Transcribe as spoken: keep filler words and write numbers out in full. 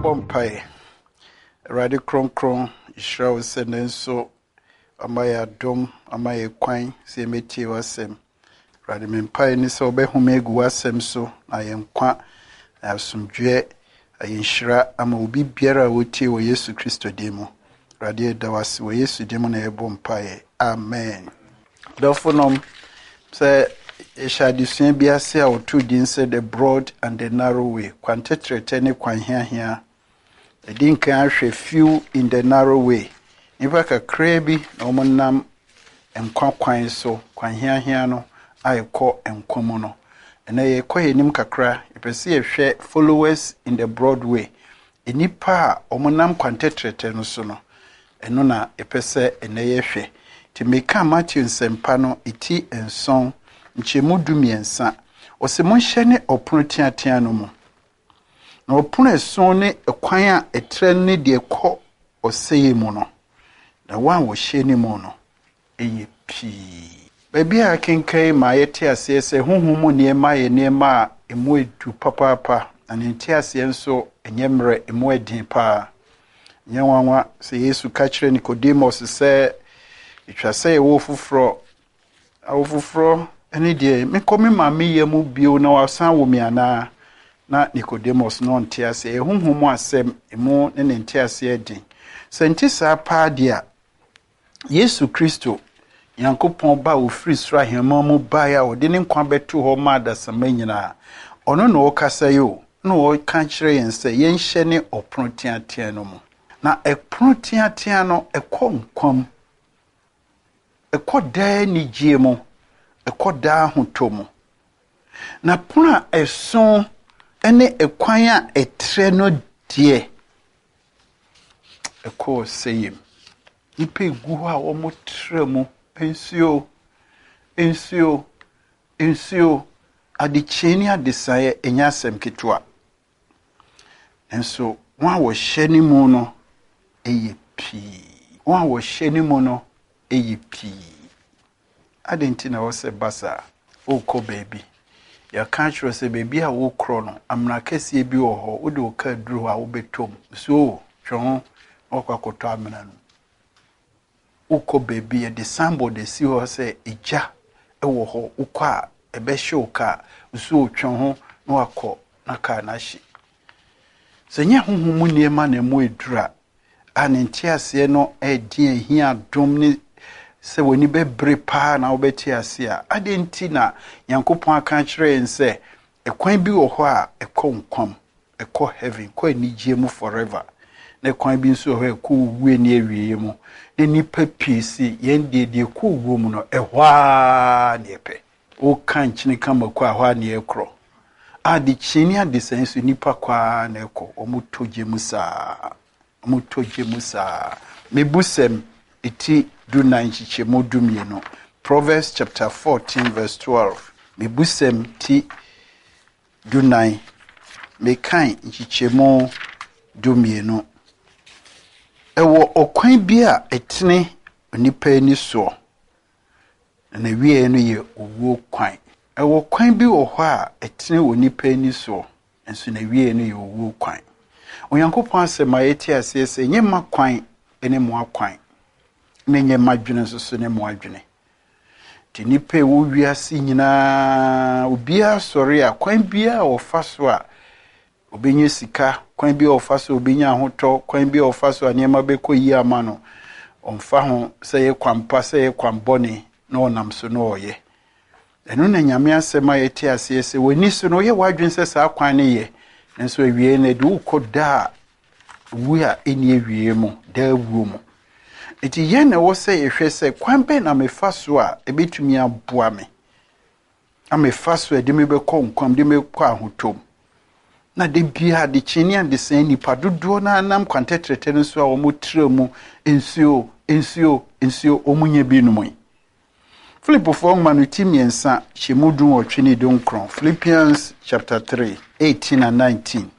Yɛmmɔ mpaeɛ. Awurade kronkron, yɛhyira wo sɛ nnɛ nso ama yɛ adom, ama yɛ kwan sɛ yɛmmɛtie w'asɛm. Awurade, me mpaeɛ ne sɛ wobɛhome agu w'asɛm so na ayɛ nkwa, na asomdwoeɛ, ayɛ nhyira ama obi biara a wɔtie wɔ Yesu Kristo din mu. Awurade, yɛda wo ase wɔ Yesu din mu na yɛbɔ mpaeɛ. Amen. Dɔfonom, sɛ yɛhyɛ adesua bi ase a wɔtoo din sɛ The Broad and the Narrow Way, kwan tɛtrɛtɛ ne kwan hiahia. Ɛdi nkan ahwɛ few in the narrow way. Nnipa kakraa bi na wɔnam nkwa kwan so, kwan hiahia no a ɛkɔ nkwa mu no. Ɛnɛ yɛkɔ yɛn anim kakra, yɛpɛ sɛ yɛhwɛ followers in the broad way. Nnipa a wɔnam kwan tɛtrɛtɛ no so no, ɛno na yɛpɛ sɛ ɛnɛ yɛhwɛ. Nti meka Matthew nsɛmpa no eti nson, nkyɛmu du mmiɛnsa. Ɔsɛ monhyɛne ɔpono teatea no mu. Na ɔpono eson ne ɛkwan a ɛtrɛ ne deɛ ɛkɔ ɔsɛeɛ mu no, na wɔn a wɔhyɛ ne mu no, ɛyɛ pii. Baabi a akenkan ma yɛte aseɛ sɛ honhom mu nneɛma yɛ nneɛma a emu edu papaapa, na ne nteaseɛ nso ɛnyɛ mmerɛ, emu ɛden paa. Nyɛ nwanwa sɛ Yesu ka kyerɛ Nicodemus sɛ etwa sɛ yɛwɔ foforɔ. Awo foforɔ ɛne deɛ mekɔ me maame yam mu bio na wasan wo me anaa? Na Nicodemus no ɔnte aseɛ. Ɛyɛ honhom mu asɛm, emu ne ne nteaseɛ den. Sɛ nte saa paa deɛ a, Yesu Kristo, Nyankopɔn ba a ofiri soro ahemman mu baeɛ a ɔde ne nkwa bɛto hɔ ma adasamma nyinaa, ɔno na ɔrekasa yi o, na ɔreka kyerɛ yɛn sɛ yɛnhyɛne ɔpono teatea no mu. Na ɛpono teatea no, ɛkɔ nkwa mu. Ɛkɔ daa anigyeɛ mu. Ɛkɔ daa ahotɔ mu. Na pono a ɛso ne ɛkwan a ɛtrɛ no deɛ, ɛkɔ ɔsɛeɛ mu. Nnipa egu hɔ a wɔtrɛ mu. Nsuo, nsuo, nsuo. Adekyee ne adesaeɛ ɛnyɛ asɛm ketewa. Nanso wɔn a wɔhyɛ ne mu no ɛyɛ pii. Wɔn a wɔhyɛ ne mu no ɛyɛ pii. Adɛn nti na ɛwɔ sɛ ba saa? Wokɔ baabi. Yɛka akyerɛ sɛ baabi a wokorɔ no, amena kɛseɛ bi wɔ hɔ. Wode wo kaa duru hɔ a wobɛtɔ mu. So twe ho na wakɔ akɔtɔ amena no. Wokɔ baabi, yɛde signboard asi hɔ sɛ egya ɛwɔ hɔ. Wokɔ a ɛbɛhye wo kaa. So twe ho na wakɔ na kaa no ahye. Sɛ nyɛ honhom mu nneɛma na ɛmu eduru a, a ne nteaseɛ no ɛdi ahia adom ne sɛ w'ani bɛbere paa na wobɛte ase a, adɛn nti na Nyankopɔn aka akyerɛ yɛn sɛ ɛkwan bi wɔ hɔ a ɛkɔ nkwa mu, ɛkɔ heaven, kɔ anigyeɛ mu forever. Na ɛkwan bi nso wɔ hɔ a ɛkɔ owuo ne awieeɛ mu. Na nnipa pii si yɛn deɛ deɛ ɛkɔ owuo mu no, ɛhɔ ara ne yɛpɛ. Woka nkyene ka mako a, ɛhɔ ara ne yɛkorɔ. Adekyee ne adesaeɛ nso nnipa kɔ ara na ɛkɔ. Wɔtɔ gya mu saa. Wɔtɔ gya mu saa. Mebusɛm eti dunan nkyekyɛmu dumienu. Proverbs chapter fourteen verse twelve. Mebusɛm ti dunan. Mekan nkyekyɛmu dumienu. Ɛwɔ ɔkwan bi a ɛtene onipa ani soɔ, na n'awieeɛ no yɛ owuo kwan. Ɛwɔ kwan bi wɔ hɔ a ɛtene onipa ani soɔ, nso n'awieeɛ no yɛ owuo kwan. Onyankopɔn asɛm a yɛte aseɛ sɛ ɛnyɛ mma kwan ne mo akwan, na ɛnyɛ mma adwene nso so ne mo adwene. Nti nnipa a ɛwɔ wiase nyinaa, obiara sɔre a, kwan biara a wɔfa so a obɛnya sika, kwan bi a ɔfa so a obɛnya ahotɔ, kwan bi a ɔfa so a nneɛma bɛkɔ yie ama no, ɔmfa ho sɛ ɛyɛ kwan pa, sɛ ɛyɛ kwan bɔne, na ɔnam so na ɔyɛ. Ɛno na Nyame asɛm a yɛte aseɛ sɛ w'ani so no, woyɛ w'adwene sɛ saa kwan no yɛ, nanso awie no, ɛde wokɔ daa wu a ɛnni awie mu, daa wuo mu. Nti yɛn na ɛwɔ sɛ yɛhwɛ sɛ kwan bɛn na mefa so a ɛbɛtumi aboa me, na mefa so a ɛde me bɛkɔ nkwa mu, de me bɛkɔ ahotɔ mu. Na de biara adekyee ne adesaeɛ nnipa dodoɔ no nam kwan tɛtrɛtɛ no so a wɔtrɛ mu nsuo, nsuo, nsuo, wɔn nyɛ bi nom yi. Filipofoɔ nwoma no ti mmiɛnsa hyɛ mu du nwɔtwe ne du nkron. Philippians chapter three, eighteen and nineteen.